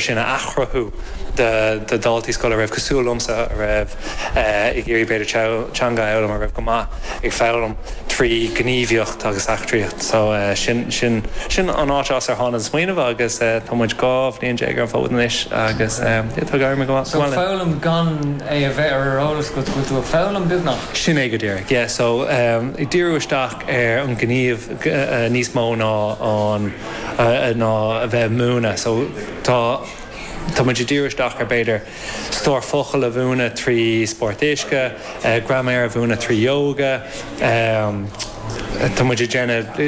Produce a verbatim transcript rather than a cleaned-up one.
sin a athchruthú do daltaí scoile a raibh cosúil liomsa a raibh ag iarraidh b'fhéidir teanga a fhoghlaim a raibh go maith ag foghlaim trí gníomhaíocht agus eachtraíocht so sin sin sin an áit as ar tháinig an smaoineamh agus tá muid dhá bhliain déag ar an bhfód anois agus tá go maith. So foghlaim gan é a bheith ar eolas go bhfuil tú ag foghlaim beagnach. Sin é go díreach, yeah, so um, ag díriú isteach ar an gníomh uh, níos mó ná an uh, ná a bheith múineadh, so tá Tá muid ag díriú isteach ar b'fhéidir stór focal a mhúineadh trí spórt uisce, uh, graiméar a mhúineadh trí yoga, um, Tá muid ag déanamh